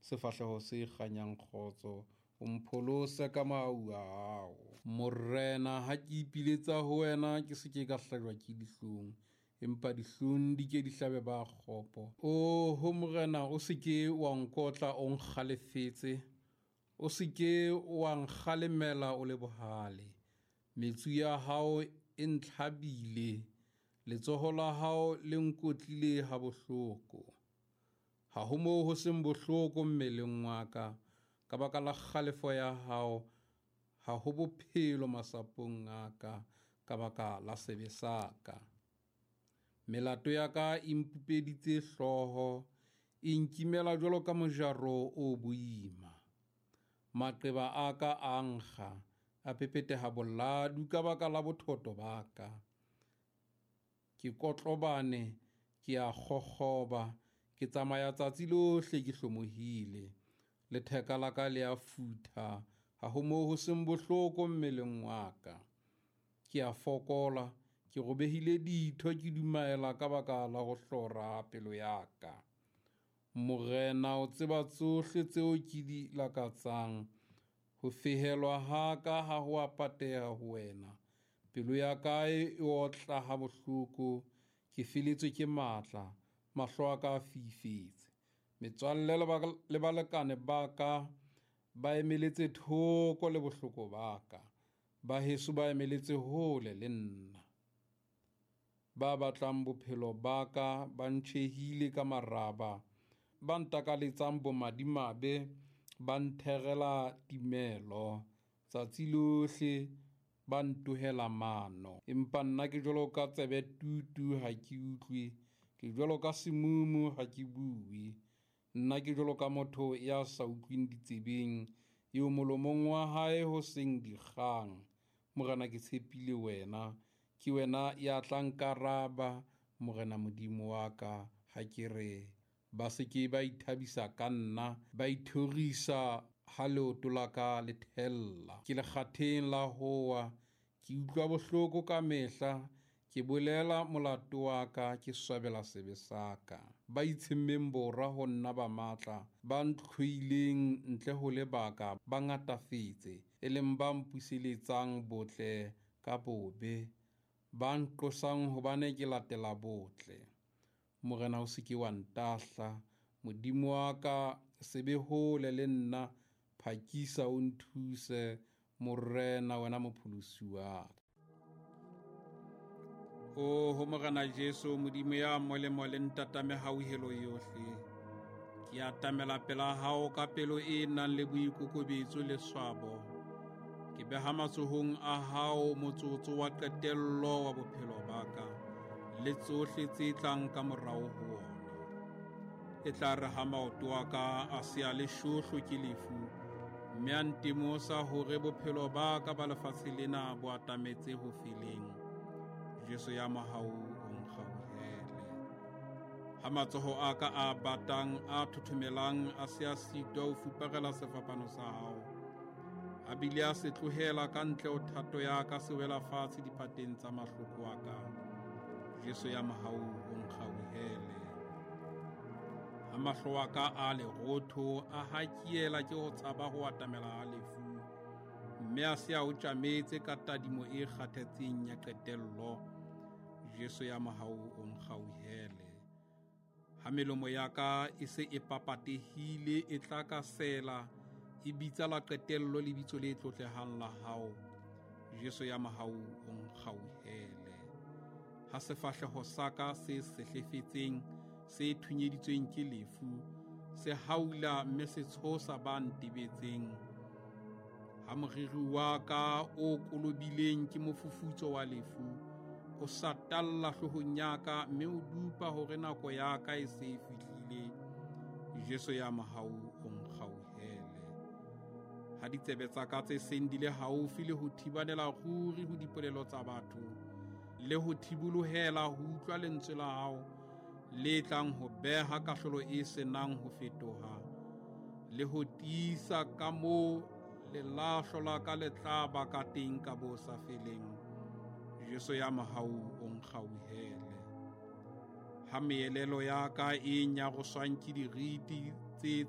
sefahleho se kganyang kgotso, o mpholose ka mahau a hao. Morena, ha ke ipiletsa ho wena, ke se ke ka hlajwa ke dihlong, empa dihlong di ke di hlabe ba kgopo. Oho Morena, o se ke wa nkotla o nkgalefetse, o se ke wa nkgalemela o le bohale. Metsu ya hao e ntlhabile, letsoho la hao le nkotlile habohloko. Ha ho moo ho seng bohloko mmeleng wa ka, ka baka la kgalefo ya hao, ha ho bophelo masapong a ka, ka baka la sebe sa ka. Melato ya ka e mpupeditse hlooho, e nkimela jwalo ka mojaro o boima. Maqeba a ka a nkga, a pepeteha boladu ka baka la bothoto ba ka. Ke kotlobane, ke a kgokgoba, ke tsamaya tsatsi lohle ke hlomohile. Letheka la ka le a futha, ha ho moo ho seng bohloko mmeleng wa ka. Ke a fokola, ke robehile ditho, ke dumaela ka baka la ho hlora pelo ya ka. Morena, o tseba tsohle tseo ke di lakatsang. Ho fehelwa ha ka ha ho a pateha ho wena. Pelo ya ka e otla ha bohloko, ke feletswe ke matla, mahlo a ka a fifetse. Metswalle le balekane ba ka ba emeletse thoko le bohloko ba ka, ba heso ba emeletse hole le nna. Ba batlang bophelo ba ka ba ntjhehile ka maraba, ba ntakaletsang bomadimabe ba ntherela timelo. Tsatsi lohle ba ntohela mano, empa nna ke jwalo ka tsebe tutu ha ke utlwe, ke jwalo ka semumu ha ke bue. Nna ke jwalo ka motho ya sa utlweng ditsebeng, eo molomong wa hae ho seng dikgang. Morena, ke tshepile wena, ke wena ya tla nkaraba, Morena Modimo wa ka, ha ke re ba se ke ba ithabisa ka nna, ba ithorisa ha leoto la ka le thella. Ke lekgatheng la howa, ke utlwa bohloko ka mehla, ke bolela molato wa ka, ke swabela sebe sa ka. Ba itshemmeng bora ho nna ba matla, ba ntlhoileng ntle ho lebaka ba ngatafetse, e leng ba mpuseletsang botle ka bobe, ba nqosang hobane ke latela botle. Morena, o se ke wa ntahla, Modimo wa ka, se be hole le nna, phakisa o nthuse, Morena, wena mopholosi wa ka. Oho Morena Jesu, Modimo ya molemo le ntata mehauhelo yohle, ke atamela pela hao ka pelo e nang le boikokobetso le swabo. Ke beha matsohong a hao motsotso wa qetello wa bophelo ba ka, le tsohle tse tlang ka morao ho wona. E tla re ha maoto a ka a se a le shohlo ke lefu, mme a ntemosa hore bophelo ba ka ba lefatshe lena bo atametse ho feleng, Jesu ya mohau o nkgauhele. Ha matsoho a ka a batang a thothomelang a se a sitwa ho fuparela sefapano sa hao, a bile a se tlohela ka ntle ho thato ya ka se wela fatshe diphateng tsa mahloko a ka, Jesu ya mohau o nkgauhele. Ha mahlo a ka a lerotho a hakiela ke ho tshaba ho atamela ha lefu, mme a se a o tjametse ka tadimo e kgathetseng ya qetello, Jesu ya mohau o nkgauhele. Ha melomo ya ka e se e papatehile e tla ka sela, e bitsa la qetello lebitso le tlotlehang la hao, Jesu ya mohau o nkgauhele. Ha sefahleho sa ka se sehlefetseng, se thunyeditsweng ke lefu, se haula mme se tshosa ba ntebetseng, ha moriri wa ka o kolobileng ke mofufutso wa lefu, o satalla hloohong ya ka mme o dupa hore nako ya ka e se e fihlile, Jesu ya mohau o nkgauhele. Ha ditsebe tsa ka tse seng di le haufi le ho thibanela ruri ho dipolelo tsa batho, le ho thibolohela ho utlwa lentswe la hao le tlang ho beha kahlolo e senang ho fetoha, le ho tiisa ka moo lelahlo la ka le tla ba ka teng ka bo sa feleng, Jesu ya mohau o nkgauhele. Ha meelelo ya ka e nyaroswang ke diriti tse